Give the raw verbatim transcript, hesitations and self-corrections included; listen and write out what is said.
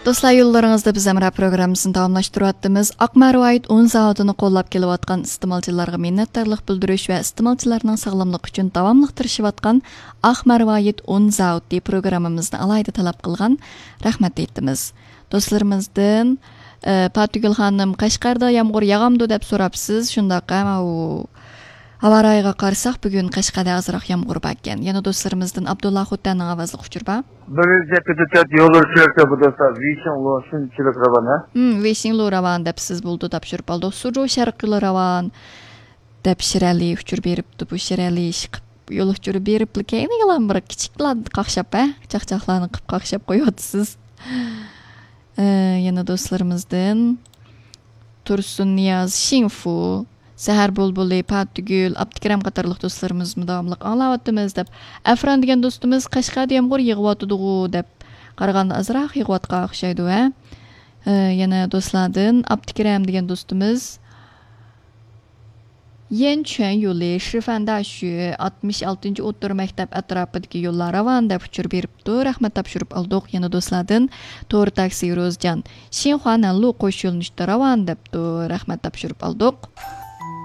دوستلار، يوللىرىڭىزدا بىز ھەمراھ پروگراممىسىنى داۋاملاشتۇرۇۋاتىمىز. ئاقمەرۋايىت ئۇن زاۋۇتىنى قوللاپ كېلىۋاتقان ئىستېمالچىلارغا مىننەتدارلىق بىلدۈرۈش ۋە ئىستېمالچىلارنىڭ ساغلاملىقى ئۈچۈن داۋاملىق تىرىشىۋاتقان ئاقمەرۋايىت ئۇن زاۋۇتى پروگراممىمىزنى ئالاھىدە تەلەپ قىلغان، رەھمەت ئېيتىمىز. دوستلىرىمىزدىن، ئە، پاتىگۈل خانىم، «قەشقەردە يامغۇر ياغامدۇ؟» دەپ سوراپسىز. شۇنداق، ئەمما ئۇ ھاۋا رايىغا قارىساق، بۈگۈن قەشقەردە ئازراق يامغۇر باركەن. يەنە دوستلىرىمىزدىن ئابدۇللا خوتەننىڭ ئاۋازلىق ئۇچۇرى بار. بىر يۈز يەتتە تۆت يوللار چۈشۈرۈپتۇ بۇ دوستلار. ۋېيشىڭلۇ شۇنچىلىك راۋان، ھە؟ ھىم، ۋېيشىڭلۇ راۋان دەپسىز، بولدى، تاپشۇرۇپ ئالدۇق. سۇجۇ شەرقىي يولى راۋان دەپ شىرئەلى ئۇچۇر بېرىپتۇ. بۇ شىرئەلى ئىشقىپ يول ئۇچۇرى بېرىپلا كەينىگىلا بىر كىچىكلا قاقشاپ، ھە؟ چاقچاقلارنى قىپ قاقشاپ قويۇۋاتىسىز. ئە، يەنە دوستلىرىمىزدىن تۇرسۇن نىياز، شىڭفۇ، سەھەر بۇلبۇلى، پاتىگۈل، ئابدۇكېرەم قاتارلىق دوستلىرىمىزمۇ داۋاملىق ئاڭلاۋاتىمىز دەپ. ئەفران دېگەن دوستىمىز، «قەشقەردە يامغۇر يېغىۋاتىدىغۇ» دەپ قارىغاندا ئازراق يېغىۋاتقان ئوخشايدۇ، ھە؟ ئە، يەنە دوستلاردىن ئابدۇكېرەم دېگەن دوستىمىز، يەنچۈەن يولى، شىفەنداشۈ، ئاتمىش ئالتىنچى ئوتتۇرا مەكتەپ ئەتراپىدىكى يوللار راۋان دەپ ئۇچۇر بېرىپتۇ. رەھمەت تاپشۇرۇپ ئالدۇق. يەنە دوستلاردىن تور تاكسى روزجان، شىنخۇا نەنلۇ قوش يۆنىلىشتە راۋان دەپتۇ. رەھمەت تاپشۇرۇپ ئالدۇق.